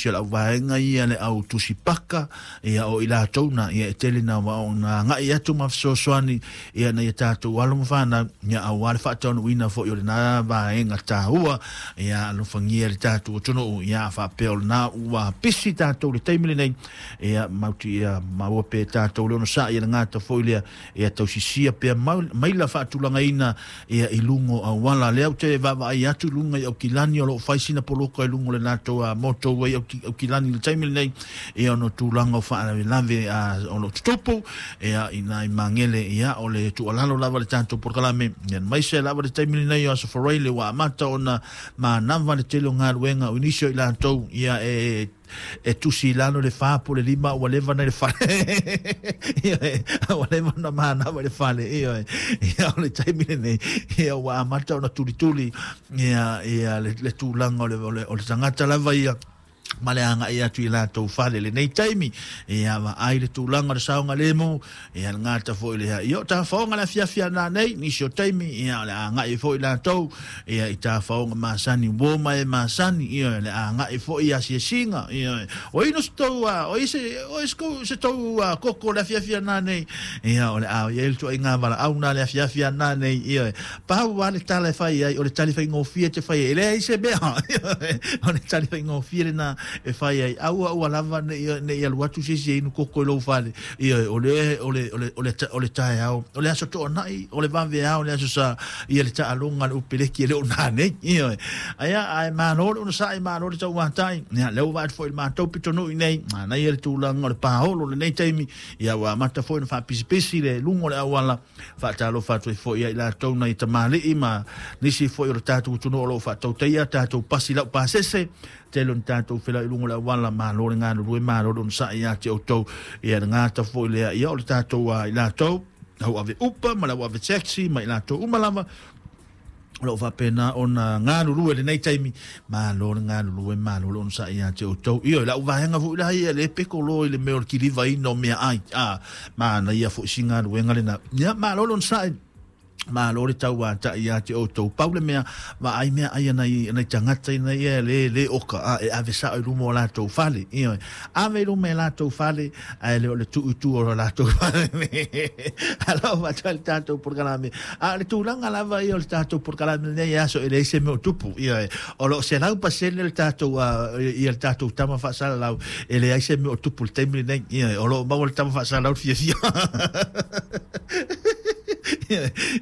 nisi o le auvaega ia le au tusipaka ia o i latou na ia e tele na ona agai atu ma fesoasoani ia nai a tatou alo ma fanau ia aua le faataunuuina foi o lena vaega taua ia alofagia le tatou atunuu ia faapea o lena ua pisi tatou i le taimi lenei ia mauti ia maua pea e tatou le onosai ia le gata foi lea ia tausisia pea maila faatulagaina ia i luga o auala. Lea ou te vaavaai atu i luga i Aukilani o lo o fai sina poloka i luga o le latou motorway Aukilani i le taimi lenei ia ona o tulaga o faalavelave o lo o tutupu ia i nai magele ia o le tuualalo lava le tatou polokalame ia aemaise lava le taimi lenei o Aso Faraile ua amata ona manava le tele o galuega o nisi o i latou ia e tusi i lalo le 4 po o le 5 ua leva na i le fale. Ia, ua leva ona manava i le fale. Ia, ia o le taimi lenei ia ua amata ona tulituli ia ia le tulaga o le tagata lava ia ma le agai atu i latou fale lenei taimi ia vaai le tulaga o le saogalemu ia le gata foi lea ia o tafaoga le afiafi ana nei nisi o taimi ia o le agai foi latou ia i tafaoga masani uo ma e masani ia le agai foi i asiasiga ia o ino se tou o i se o i se tou koko le afiafi ana nei ia o le a ia le tuaiga valaau na le afiafi ana nei ia pau lava le tala e fai ai o le tali faigofie te fai ai e leai se mea o le tali faigofie lena e fai ai aua ua lava nei alu atu se isi e inu koko i lou fale ia o le o le o le o le o le taeao o le aso toanai o le vaveao o le aso sa ia le taaloga a le upeleki e le o nanei ia aia ae malo le onosai malo le tauatai ia lea ua vaai atu foi i le matou pitonuu nei manaia le tulaga o le paolo lenei taimi ia ua amata foi ona faapisipisi le luga o le auala faatalofa atu ai foi ia i latou nai tamalii ma nisi foi o le tatou atunuu o lo o faatautaia tatou pasi laupasese tele o ni tatou felauai i luga o le auala malo le galulue malo le onosai ia te outou ia le gata foi lea ia o le tatou i latou au ave upa ma le au ave taxi ma i latou uma lava o lo o faapena ona galulue lenei taimi malo le galulue malo le onosai ia te outou. Ioe, o lau vaega foi la ia le peko loa i le mea o le kilivaina o meaai a manaia foi si galuega lena ia malo le onosai malo le tauatai ia te outou. Pau le mea vaai meaai a nai tagata ina ia le le oka a e ave sao i luma o latou fale ioe ave i luma e latou fale ae le o le tuu i tua o latou fale. Alofa atu ai le tatou polokalame a o le tulaga lava ia o le tatou polokalame lenei aso e leai se mea o tupu ioe o lo o 100% le tatou ia le tatou tama faasalalau e leai se mea o tupu i le taimi lenei ioe o lo o maua le tama faasalalau le fiafia.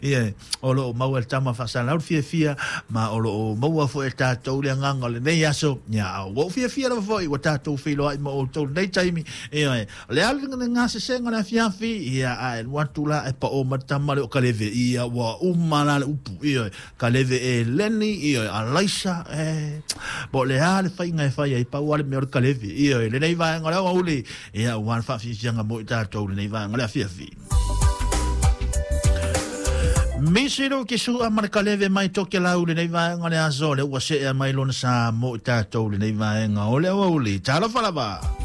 Ia, o lo o maua e le tama faasalalau le fiafia ma o lo o maua foi e tatou le agaga o lenei aso. Ia, ua ou fiafia lava foi ua tatou feiloai ma outou lenei taimi. Ia, o le alu le gasesega o le afiafi, ia, ae alu atu la e pao mai le tama lea o Kaleve. Ia, ua uma la le upu. Ia, Kaleve e Leni, ia, Alaisa, e, po o le a le faiga e fai ai, pau lava le mea o le Kaleve. Ia, lenei vaega o le aoauli, ia, ua le faafiafiaga mo i tatou lenei vaega o le afiafi. Misi Luki Sua ma le Kaleve mai Tokelau lenei vaega o le aso, lea ua seea mai lona sa mo i tatou lenei vaega o le aoauli. Talofa lava!